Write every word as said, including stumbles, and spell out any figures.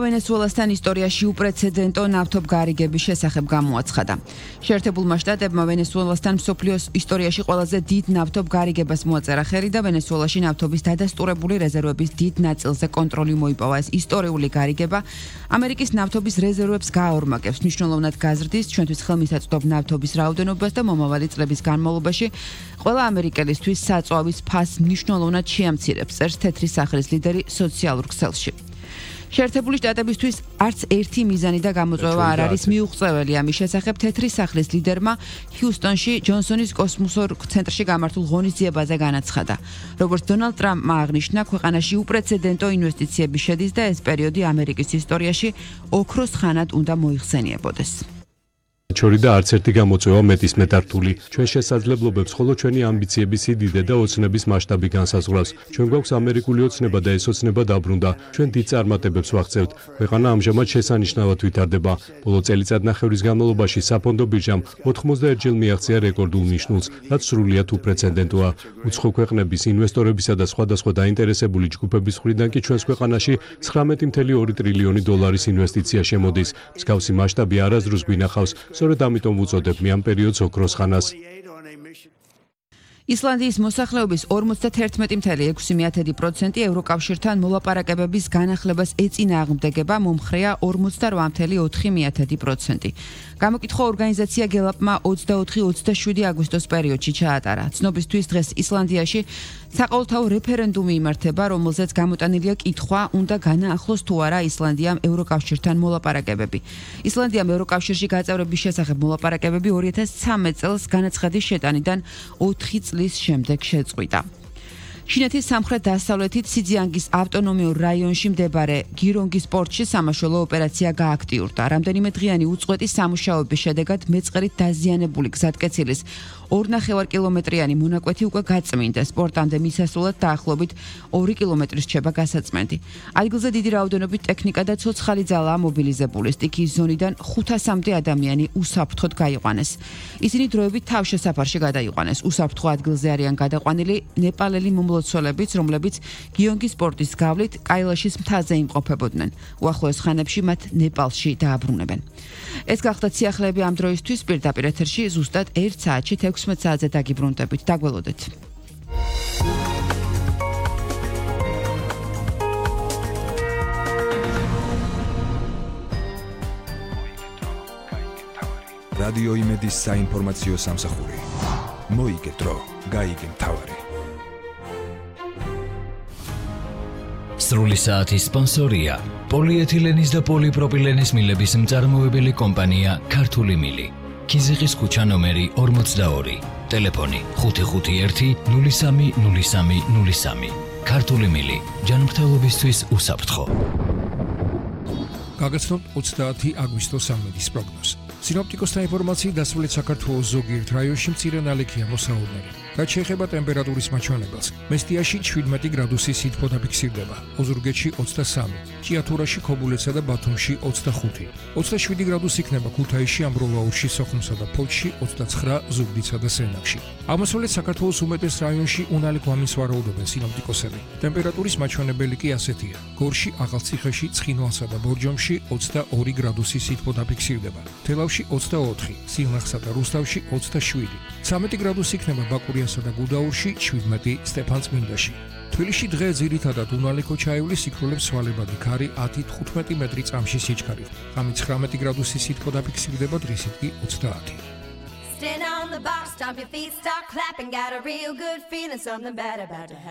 ვენესუელასთან ისტორიაში უპრეცედენტო ნავთობ გარიგების შესახებ გამოაცხადა. შეერთებულმა შტატებმა ვენესუელასთან მსოფლიოს ისტორიაში ყველაზე დიდ ნავთობ გარიგებას მოაწერა ხელი და ვენესუელაში ნავთობის დადასტურებული რეზერვების დიდ ნაწილზე კონტროლი მოიპოვა. ეს ისტორიული გარიგება ამერიკის ნავთობის რეზერვებს გააორმაგებს, მნიშვნელოვნად გაზრდის ჩვენთვის ხელმისაწვდომ ნავთობის რაოდენობას და მომავალი წლების განმავლობაში ყველა ამერიკელისთვის საწვავის ფასს მნიშვნელოვნად შეამცირებს, წერს თეთრი სახლის ლიდერი სოციალურ ქსელში. შეერთებული შტატებისთვის არც ერთი მიზანი და გამოწვევა არ არის მიუღწეველი ამის შესახებ თეთრი სახლის ლიდერმა ჰიუსტონში ჯონსონის კოსმოსურ ცენტრში გამართულ ღონისძიებაზე განაცხადა. როგორც დონალდ ტრამპმა აღნიშნა, ქვეყანაში უპრეცედენტო ინვესტიციები შედის და ეს პერიოდი ამერიკის ისტორიაში ოქროს ხანად უნდა მოიხსენიებოდეს. ჩორი და არც ერთი გამოწვევა მეტის მეტართული. ჩვენ შესაძლებლობებს ხოლო ჩვენი ამბიციების სიდიდე და ოცნების მასშტაბი განსაზღვრავს. ჩვენ გვაქვს ამერიკული ოცნება და ეს ოცნება დაბრუნდა. ჩვენ დიდ წარმატებებს ვაღწევთ. ქვეყანა ამჟამად შესანიშნავად ვითარდება. ბოლო წელიწადნახევრის განმავლობაში საფონდო ბირჟამ ოთხმოცდაერთი ჯერ მიაღწია რეკორდულ ნიშნულს, რაც სრულიად უპრეცედენტოა. უცხო ქვეყნების ინვესტორებისა და სხვადასხვა დაინტერესებული ჯგუფების მხრიდან კი ჩვენს ქვეყანაში ცხრამეტი წუთი ორი ტრილიონი დოლარის ინვესტიცია შემოდის. მსგავსი მასშტაბი არასდროს გვინახავს. სწორედ ამიტომ უწოდებ მე ამ პერიოდს ოქროს ხანას. ისლანდიის მოსახლეობის ორმოცდაერთმეტი წუთი ექვსი პროცენტი ევროკავშირთან მოლაპარაკებების განახლებას ეწინააღმდეგება, მომხრეა ორმოცდარვა წუთი ოთხი პროცენტი. გამოკითხვა ორგანიზაცია გელაპმა ოცდაოთხი ოცდაშვიდი აგვისტოს პერიოდში ჩაატარა. ცნობისთვის დღეს ისლანდიაში საყოველთაო რეფერენდუმი იმართება, რომელზეც გამოტანილია კითხვა, უნდა განაახლოს თუ არა ისლანდიამ ევროკავშირთან მოლაპარაკებები. ისლანდიამ ევროკავშირში გაწევრების შესახებ მოლაპარაკებები ორი ათას ცხრამეტ წელს განაცხადის შეტანიდან ოთხი წლის შემდეგ შეწყვიტა. ჩინეთის სამხრეთ-დასავლეთით სიძიანგის ავტონომიურ რაიონში მდებარე გირონგის პორტში სამაშველო ოპერაცია გააქტიურდა. რამდენიმე დღიანი უწყვეტი სამუშაოების შედეგად მეწყერით დაზიანებული გზატკეცილის ორნახევარ კილომეტრიანი მონაკვეთი უკვე გაწმინდეს. პორტამდე მისასვლელად დაახლოებით ორი კილომეტრი რჩება გასაწმენდი. ადგილზე დიდი რაოდენობით ტექნიკა და ცოცხალი ძალაა მობილიზებული. სტიქიის ზონიდან ხუთასამდე ადამიანი უსაფრთხოდ გაიყვანეს. ისინი დროებით თავშესაფარში გადაიყვანეს. უსაფრთხო ადგილზე არიან გადაყვანილი ნეპალელი მომლოცველებიც, რომლებიც გიონგის პორტის გავლით კაილაშის მთაზე იმყოფებოდნენ. უახლოეს ხანებში მათ ნეპალში დააბრუნებენ. ეს გახდა სიახლეები ამ დროისთვის. პირდაპირ ეთერში ზუსტად ერთ საათში ექვსმეტ საათზე დაგიბრუნდებით. დაგველოდეთ. რადიო იმედის საინფორმაციო სამსახური. მოიგეთრო, გაიგე მთავარი. სრული საათის სპონსორია პოლიეთილენის და პოლიპროპილენის მილების მწარმოებელი კომპანია ქართული მილი. ქიზიყის ქუჩა ნომერი ორმოცდაორი. ტელეფონი ხუთი ხუთი ერთი ნული სამი ნული სამი ნული სამი. ქართული მილი. ჯანმრთელობისთვის უსაფრთხო. გაგაცნობთ ოცდაათი აგვისტოს ამედის პროგნოზს. სინოპტიკოსთა ინფორმაციით დასავლეთ საქართველოს ზოგიერთ რაიონში მცირე ნალექია მოსაუბნელი. რაც შეეხება ტემპერატურის მაჩვენებელს, მესტიაში შვიდმეტი გრადუსი სითბო დაფიქსირდება, ოზურგეთში ოცდასამი, ჭიათურაში, ქობულეთსა და ბათუმში ოცდახუთი, ოცდაშვიდი გრადუსი იქნება ქუთაისში, ამბროლაურში, სოხუმსა და ფოთში, ოცდაცხრა ზუგდიდსა და სენაკში. აღმოსავლეთ საქართველოს უმეტეს რაიონში უნალექ ვამის ვარაუდობენ სინოპტიკოსები. ტემპერატურის მაჩვენებელი კი ასეთია: გორში, ახალციხეში, ცხინვალსა და ბორჯომში ოცდაორი გრადუსი სითბო დაფიქსირდება, თელავში ოცდაოთხი, სიღნაღსა და რუსთავში ოცდაშვიდი, ცამეტი გრადუსი იქნება ბაკურიასა და გუდაურში, შვიდმეტი სტეფანწმინდაში. თბილისში დღე ძირითადად უნალექო ჩაივლის, სიკვდილებს სვალებადი ქარი ათი თხუთმეტი მეტრი წამში სიჩქარით. ღამით ცხრამეტი გრადუსი სითბო დაფიქსირდება, დღისით კი ოცდაათი. Stand on the bar, stomp your feet, start clapping, got a real good feeling, something bad about to happen.